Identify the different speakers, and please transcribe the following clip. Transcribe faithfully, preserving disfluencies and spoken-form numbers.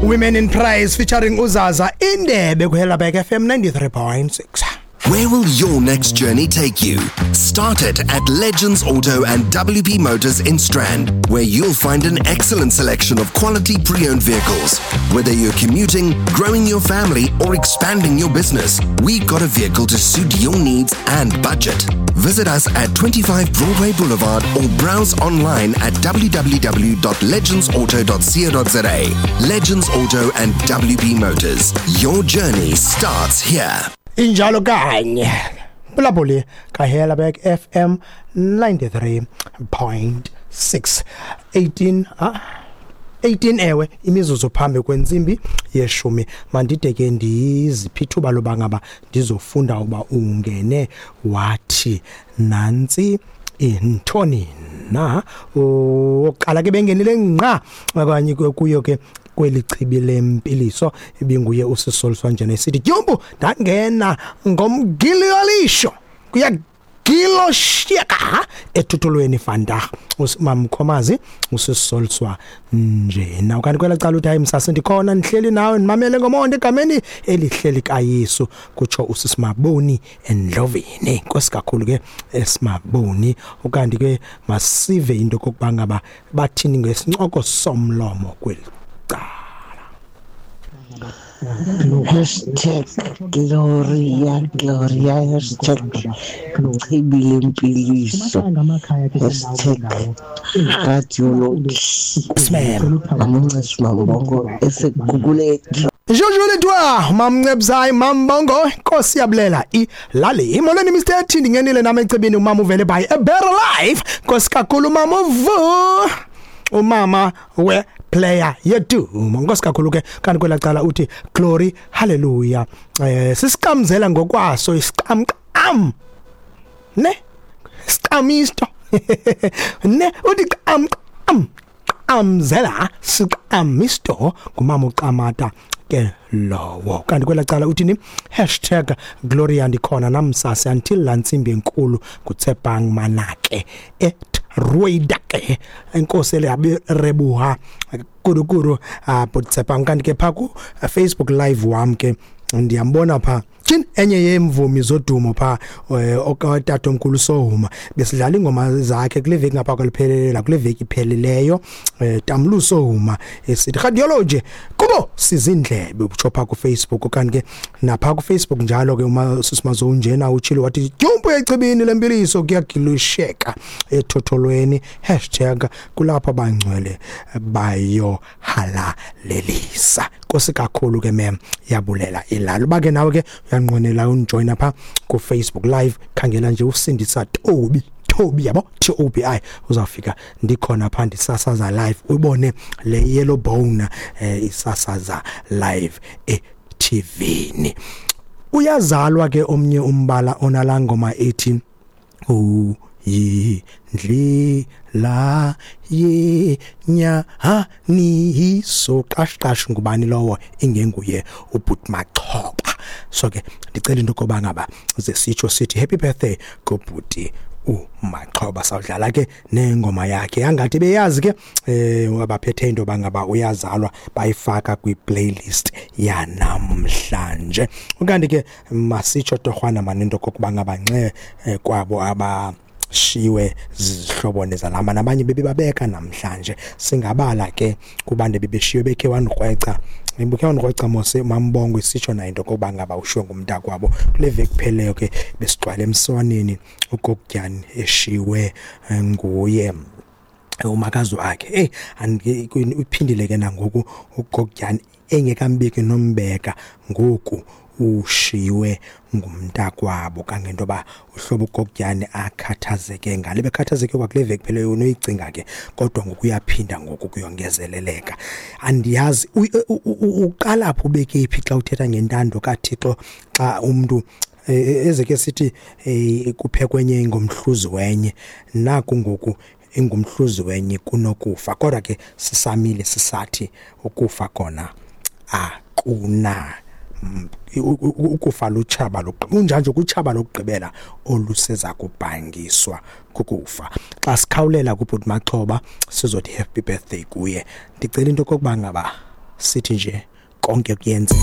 Speaker 1: Women in Praise featuring uZaza Indebe kuHelabek F M ninety-three point six.
Speaker 2: Where will your next journey take you? Start it at Legends Auto and W P Motors in Strand, where you'll find an excellent selection of quality pre-owned vehicles. Whether you're commuting, growing your family, or expanding your business, we've got a vehicle to suit your needs and budget. Visit us at twenty-five Broadway Boulevard or browse online at w w w dot legends auto dot co dot z a. Legends Auto and W P Motors. Your journey starts here.
Speaker 1: Injalo kanye Bulabuli kaHelabek F M ninety-three point six eighteen ah eighteen ewe imizuzu phambi kwentsimbi yeshumi. Mandide ke ndiziphi ithuba loba ngaba ndizofunda uba ungene wathi nantsi intoni na oqala ke bengenile ngqa okanye kuyo ke kweli chibi lempiliso ibinguye usisoliswa njena esithi Dyumpu ndangena ngomgiliolisho kuyagiloshiyeka ethuthulweni vandag usimamkhomazi usisoliswa njena. Ukanti kwela cala uthi hayi msase ndikhona ndihleli nawe ndimamele ngomonde egameni elihleli kaYesu kutsho usisimaboni endlovini. Inkosi kakhulu ke esimaboni. Ukanti ke masive into kokuba ngaba bathini ngesincoko somlomo kweli.
Speaker 3: Hashtag Gloria, Gloria, hashtag Chibi lempiliso, hashtag Radiology. Mamncebs Mambongo eseGugulethu.
Speaker 1: Jojo letwa Mamncebs Mambongo Nkosi yabulela ilali. Imolweni Mister T ndingenile nami ecebini umama uvele by a better life. Nkosi kakhulu mama uvu. Umama we player yethu nkosi kakhulu ke. Kanti kwelacala uthi glory hallelujah. Eh sisiqamzela ngokwaso isiqamqam ne siqamisto ne uthi qam qam qamzela siqamisto ngumama uqamata ke lowo. Kanti kwelacala uthi ni hashtag Gloria ndikhona namsase until lantsimbi enkulu kuTsepang Manake et Ruidake enkosi leyaberebuha kurukuru apho. Kanti ke pha ku Facebook live wam ke ndiyambona pha tyhini enye yeemvumi zodumo pha okatatomkhulu Sohuma besidlala ingoma zakhe kule veki ngapha kwaliphelela kule veki iphelileyo Tamlu Sohuma esithi Radiology kubo sizindlebe utsho pha ku Facebook. Kanti ke napha ku Facebook njalo ke uma sisimazo njena utshilo wathi Dyumpu ecibini lempiliso kuyagilusheka ethotholweni hashtag kulapho abangcwele bayo halalelisa. Nkosi kakhulu ke mem yabulela ilalo bake nawe ke uyanqwenela unjoin pha ku Facebook live khangela nje uSindisa Tobi Tobi yabo T O B I uzafika ndikhona pha ndisasaza live ubone le yellow bone eh, isasaza live e T V ni. Uyazalwa ke omnye umbala onalangoma ethi u yindlela yenyaniso qashqash ngubani lowo ingenguye uBhut Machoba. So ke ndicela into koba ngaba ze sitsho sithi happy birthday kubhuti uMachoba. Sawudlala ke nengoma yakhe angathi beyazi ke eh abaphethe into bangaba uyazalwa bayifaka kwi playlist yanamhlanje. Ukanti ke masitsho torhwana manento kokuba ngaba nxe kwabo aba shiwe zihlobo nezalama nabanye bebebabeka namhlanje singabala ke kubantu bebeshiwe bekhe wankrweca ibukhe wankrweca mose Mambongo isitsho na into kokuba ngaba ushiwe ngumntakwabo kule veki kupheleyo ke besigcwele emswaneni uGokutyani eshiwe nguye umakazi wakhe. Hey uphindile ke nangoku uGokutyani engekambiki nombeka ngoku ushiwe ngumntakwabo kangento ba uhlobo uGokutyani akhathazeke ngale bekhathazeke kwakule veki phela unoyicinga ke kodwa ngokuyaphinda ngoku kuyongezeleleka. Andiyazi uqala phi ubeke iphi xa uthetha ngentando kaThixo xa umuntu ezeke sithi kuphekwenye ngomhluzi wenye naku ngoku ingumhluzi wenye kunokufa kodwa ke sisamile sisathi ukufa kona akuna ukufa lutshaba lokugqibela unjanje kutshaba lokugqibela oluseza kubhangiswa kukufa. Xa sikhawulela kuBhut Machoba sizothi happy birthday kuye. Ndicela into kokuba ngaba Sithi nje konke kuyenzeka.